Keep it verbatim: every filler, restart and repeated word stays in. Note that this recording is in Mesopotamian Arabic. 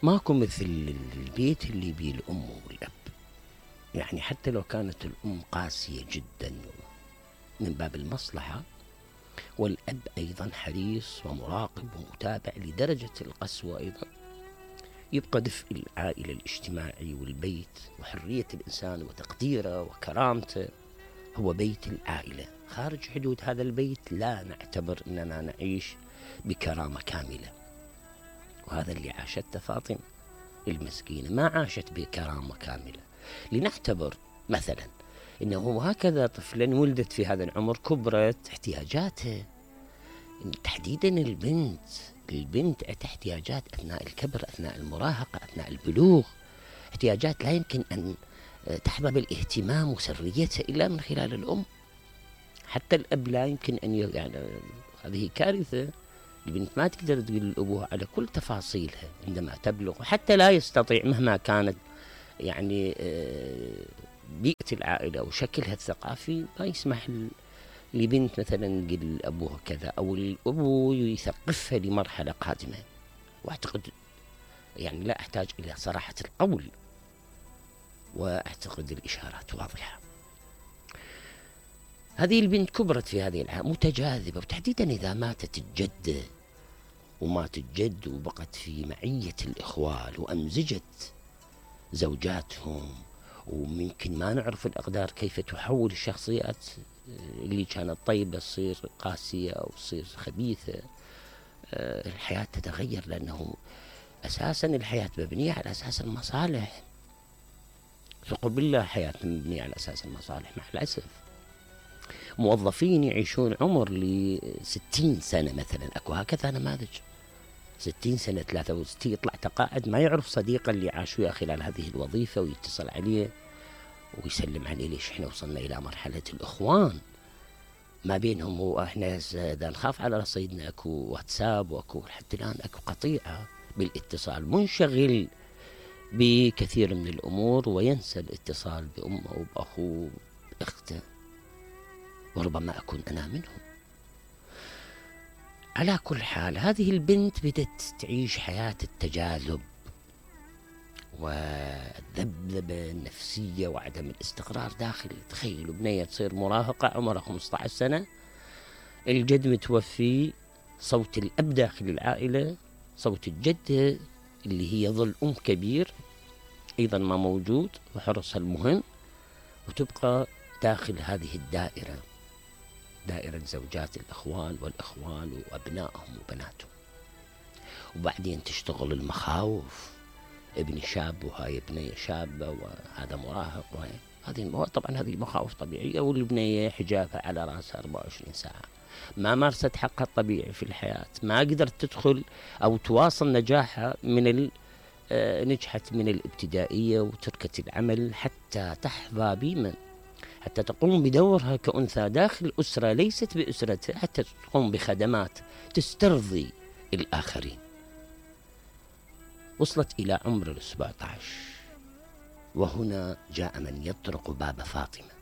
ماكو مثل البيت اللي بيه الأم والأب. يعني حتى لو كانت الأم قاسية جدا من باب المصلحة، والأب أيضا حريص ومراقب ومتابع لدرجة القسوة أيضا، يبقى دفء العائلة الاجتماعي والبيت وحرية الإنسان وتقديره وكرامته هو بيت العائلة. خارج حدود هذا البيت لا نعتبر أننا نعيش بكرامة كاملة. وهذا اللي عاشته فاطمة المسكينة، ما عاشت بكرامة كاملة. لنعتبر مثلا أنه هكذا طفلا ولدت في هذا العمر كبرت احتياجاتها، تحديدا البنت البنت احتياجات أثناء الكبر، أثناء المراهقة، أثناء البلوغ، احتياجات لا يمكن أن تحظى بالاهتمام وسريتها إلا من خلال الأم. حتى الأب لا يمكن أن ي... يعني هذه كارثة. البنت ما تقدر تقول لأبوها على كل تفاصيلها عندما تبلغ، وحتى لا يستطيع مهما كانت يعني بيئة العائلة وشكلها الثقافي ما يسمح لبنت مثلا تقول لأبوها كذا، أو الأبو يثقفها لمرحلة قادمة. وأعتقد يعني لا أحتاج إلى صراحة القول، وأعتقد الإشارات واضحة. هذه البنت كبرت في هذه الحياة متجاذبة، وتحديدا إذا ماتت الجدة ومات الجد وبقت في معية الإخوال وأمزجت زوجاتهم، وممكن ما نعرف الأقدار كيف تحول الشخصيات اللي كانت طيبة تصير قاسية أو تصير خبيثة. الحياة تتغير، لأنه أساسا الحياة مبنية على أساس المصالح. ثق بالله حياة مبنية على أساس المصالح. مع الأسف موظفين يعيشون عمر لستين سنة مثلا، أكو هكذا نماذج ستين سنة ثلاثة وستين يطلع تقاعد ما يعرف صديقه اللي عاش وياه خلال هذه الوظيفة، ويتصل عليه ويسلم عليه. ليش احنا وصلنا إلى مرحلة الإخوان ما بينهم، واحنا إذا نخاف على رصيدنا أكو واتساب وأكو حتى الآن أكو قطيعة بالاتصال، منشغل بكثير من الأمور وينسى الاتصال بأمه وبأخوه بأخته، وربما أكون أنا منهم. على كل حال هذه البنت بدت تعيش حياة التجاذب والذبذبة النفسية وعدم الاستقرار داخل. تخيلوا بنية تصير مراهقة عمرها خمسة عشر سنة، الجد متوفي، صوت الأب داخل العائلة، صوت الجدة اللي هي ظل أم كبير أيضا ما موجود وحرصها المهم، وتبقى داخل هذه الدائرة، دائرة زوجات الأخوان والأخوان وأبنائهم وبناتهم. وبعدين تشتغل المخاوف، ابن شاب وهاي ابنية شابة وهذا مراهق، وهي هذه طبعا هذه مخاوف طبيعية. والبنية حجابها على رأسها أربعة وعشرين ساعة، ما مارست حقها الطبيعي في الحياة، ما قدرت تدخل أو تواصل نجاحها من نجحت من الابتدائية وتركت العمل حتى تحظى بمن حتى تقوم بدورها كأنثى داخل أسرة ليست بأسرتها، حتى تقوم بخدمات تسترضي الآخرين. وصلت إلى عمر السبعة عشر، وهنا جاء من يطرق باب فاطمة